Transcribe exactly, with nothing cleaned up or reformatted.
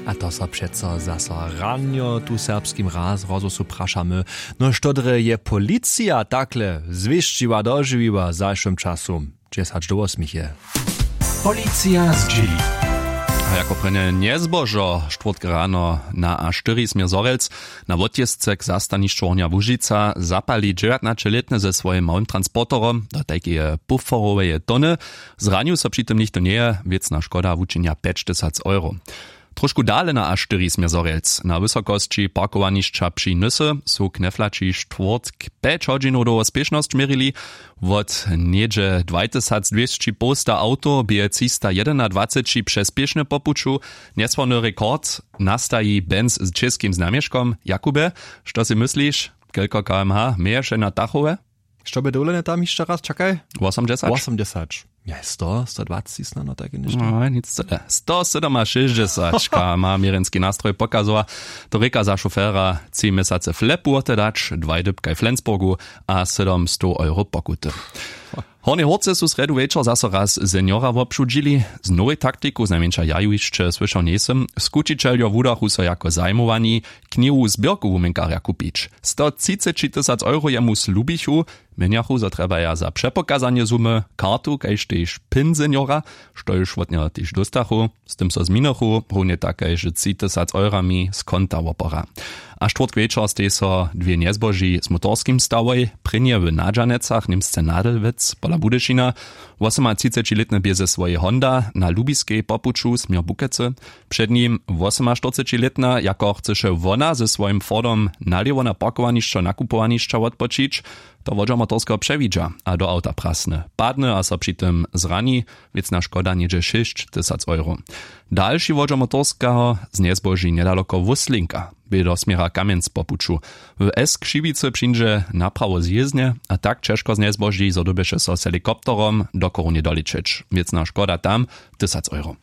A to so přeco zaso ranjo tu w serbskim raz rozhłosu prašamy, no što drje je policija takle zwěsćiła dožiwiła w zašłym času? Dźesać do wosmich je. Policija zdźěli. A jako prěnje njezbožo štwórtk rano na a štyri směr zhorjelc, na wotjězce k zastanišću hornja łužica zapali dźewjatnaćelětny ze swojim małym transporterom do tajkeje puforoweje tony. Zranił so při tym nichtó njeje. Wěcna škoda wučinja pjećtysac euro. Trošku dale na a štyri směr zhorjelc na wysokosći parkowanišća při nysy su kneflaći štwórtk pjeć hodźinow dołho spěšnosć měrili. Wot něhdźe dwajtysacdwěsći połsta awtow bě třista jedynadwaceći přez spěšnje po puću. Njesławny rekord nastaji benz z čěskim znamješkom. Jakubje, što sej mysliš, kelko kmh měješe na tachowe? Što bě dowolene tam hišće raz, čakaj. Wosomdźesać. Wosomdźesać. Njej sto, sto dwaceći snano, tajke něšto. No nic cyle, sto sydomašěsćdźesać kmh měrjenski nastroj pokazowa. To rěka za šofera tři měsace flepu wote dać, dwaj dypkaj w flensburgu a sydomstow euro pokuty. W hornjej hórce su srjedu wječor zaso raz seniora wobšudźili. Z nowej taktiku znajmjeńša ja ju hišće słyšał njejsym. Skućićeljo wudachu so jako zajimowani knihu zběrku wuměnkarja kupić. Stotřicećitysac euro jemu slubichu. Měnjachu zo trjebaja za přepokazanje sumy kartu kaž tež pin seniora, štož wot njeho tež dóstachu. Z tym so zminichu howně tak kaž tři tysac eurami z konta wopora. A štwórtk wječor stej so dwě njezboži z motorskim stawoj prěnje w nadźanecach němsce nadelwec pola budyšina. Wosomatřicećilětny bě ze swojej honda na lubiskej po puću směr bukecy. Před nim wosomaštyrcećilětna jako chcyše wona ze swojim fordom nalěwo na parkowanišćo nakupowanišća wotpočić. To wodźer motorskeho přewidźa a do awta prasny, padny a so při tym zrani. Wěcna škoda něhdźe šěsć tysac euro. Dalši wodźer motorskeho znjezboži njedaloko wuslinka bě do směra kamjenc po puću. W s křiwicy přińdźe naprawo zjězdnje a tak ćežko znjezboži zo dyrbješe so z helikopterom do chorunje doličeć. Wěcna škoda tam tysac euro.